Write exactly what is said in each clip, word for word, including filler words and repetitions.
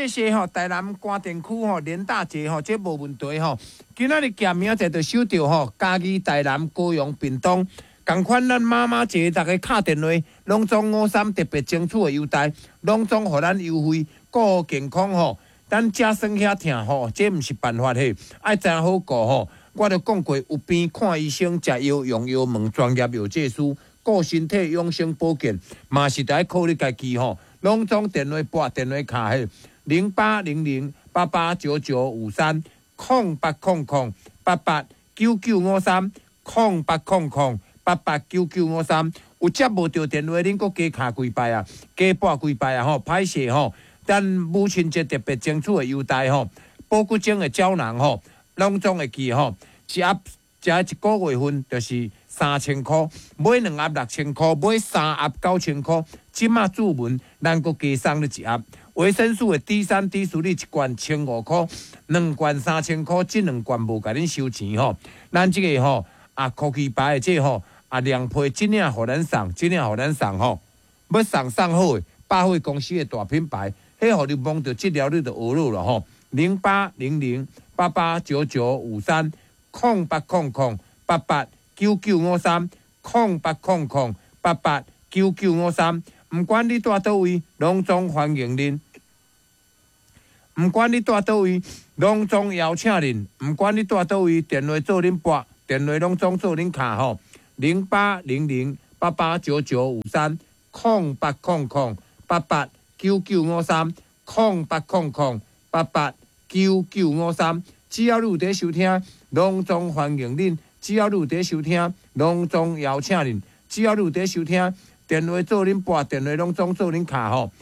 謝謝吼，台南官田區吼連大姐吼，這無問題吼。今仔日寄明仔載就收著吼，嘉義、台南、高雄、屏東，仝款咱媽媽節逐家敲電話，攏總五三特別爭取的優待，攏總予咱優惠，顧好健康吼。咱食酸遐疼吼，這毋是辦法嘿，愛知影好顧吼。我著講過，有病看醫生，食藥用藥問專業藥劑師，顧身體養生保健，嘛是著愛靠你家己吼。攏總電話撥電話敲嘿，零八零零八八九九五三，空八空空八八九九五三，空八空空八八九九五三。有接無著電話，恁閣加敲幾擺啊？加撥幾擺啊？吼，歹勢吼！咱母親節特別爭取的優待吼，保骨精的膠囊吼，攏總會記吼，一盒食一個月份就是三千箍，買兩盒六千箍，買三盒九千箍。這馬注文，咱閣加送你一盒維生素的 D 三、D 四，你一罐千五箍，兩罐三千箍，這兩罐無共恁收錢吼。咱這個吼啊，科技牌的這個吼啊，涼皮這領予咱送，這領予咱送吼，欲送送好的百貨公司的大品牌。彼予你摸著這粒你就學了啦吼，零八零零八八九九五三，空八空空八八九九五三，空八空空八八九九五三。毋管你蹛佗位，攏總歡迎恁。毋管你蹛佗位，攏總邀請恁。毋管你蹛佗位，電話做恁撥，電話攏總做恁敲吼。零八零零八八九九五三，空八空空八八九九五三，空八空空八八九九五三，只要你有佇收聽，攏總歡迎恁；只要你有佇收聽，攏總邀請恁；只要你有佇收聽，電話做恁撥，電話攏總做恁敲吼。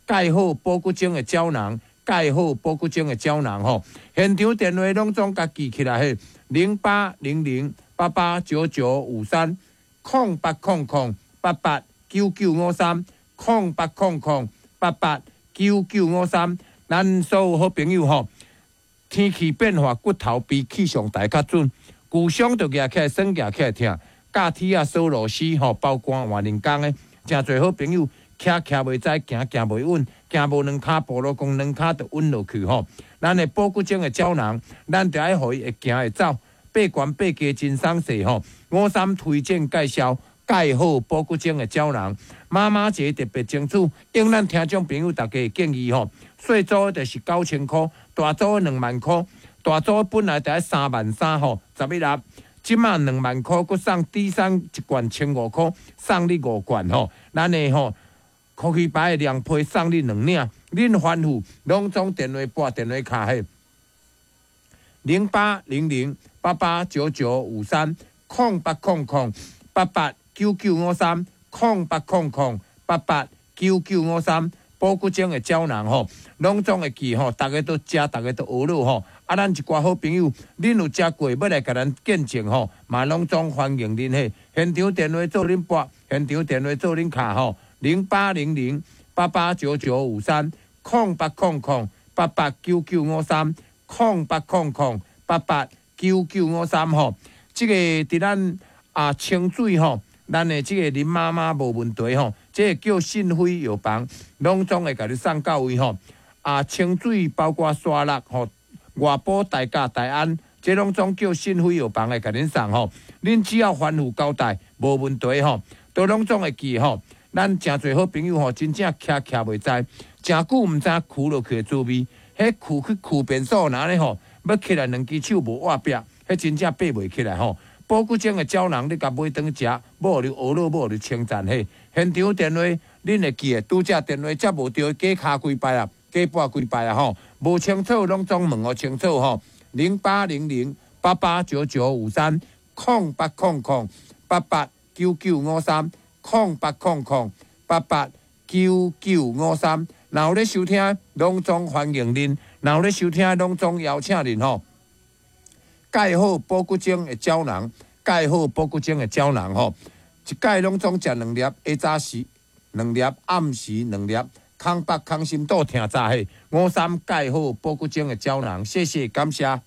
蓋好保骨精的膠囊，蓋好保骨精的膠囊吼。現場電話攏總共記起來嘿，零八零零八八九九五三，空八空空八八九九五三，空八空空八八九九五三，咱所有好朋友吼，天氣變化，骨頭比氣象台較準。舊傷就舉起來，酸舉起來疼，鉸鐵仔鎖螺絲吼，包肝換人工的，誠濟好朋友，徛徛袂知，行行袂穩，行無兩跤步，路講兩跤就穩落去吼。咱的保骨精的膠囊，咱著愛予伊會行會走，爬懸爬低真鬆勢吼。五三推薦介紹。蓋好保骨精的膠囊，媽媽節特別爭取，應咱聽眾朋友大家的建議吼，細組就是九千箍，大組兩萬箍，大組本來著愛三萬三吼，十一盒，這馬兩萬箍，閣送 D 三一罐千五箍，送你五罐吼，咱的吼科技牌的涼皮送你兩領，恁吩咐攏總電話撥電話敲嘿，零八零零八八九九五三，空八空空八八九九五三，空八空空八八九九五三，保骨精的膠囊吼，攏總會記吼，逐家都食，逐家都學了吼。啊，咱一寡好朋友，恁有食過，欲來共咱見證吼，嘛攏總歡迎恁嘿。現場電話做恁撥，現場電話做恁敲吼，零八零零八八九九五三，空八空空八八九九五三，空八空空八八九九五三吼。這個佇咱啊清水吼。咱的這個林媽媽無問題吼，這個叫信輝藥房，攏總會共你送到位吼。啊，清水包括沙鹿吼，外埔大甲大安，這攏總叫信輝藥房會共恁送吼。恁只要吩咐交代，無問題吼，都攏總會記吼。咱誠濟好朋友吼，真正徛徛袂知，誠久毋知跍落去的滋味，彼跍去跍便所若呢吼，欲起來兩支手無握壁，彼真正爬袂起來吼。保骨精的膠囊，你共買轉食，欲予你呵咾，欲予你稱讚嘿。現場電話，恁會記得，拄則電話接無著，加敲幾擺啊，加撥幾擺啊吼。無清楚攏總問予清楚吼。零八零零八八九九五三，空八空空八八九九五三，空八空空八八九九五三。若有咧收聽，攏總歡迎恁；若有咧收聽，攏總邀請恁吼。蓋好保骨精的膠囊，蓋好保骨精的膠囊吼，一擺攏總食兩粒，下早時兩粒，暗時兩粒，空腹空心肚疼早嘿。五三蓋好保骨精的膠囊，謝謝感謝。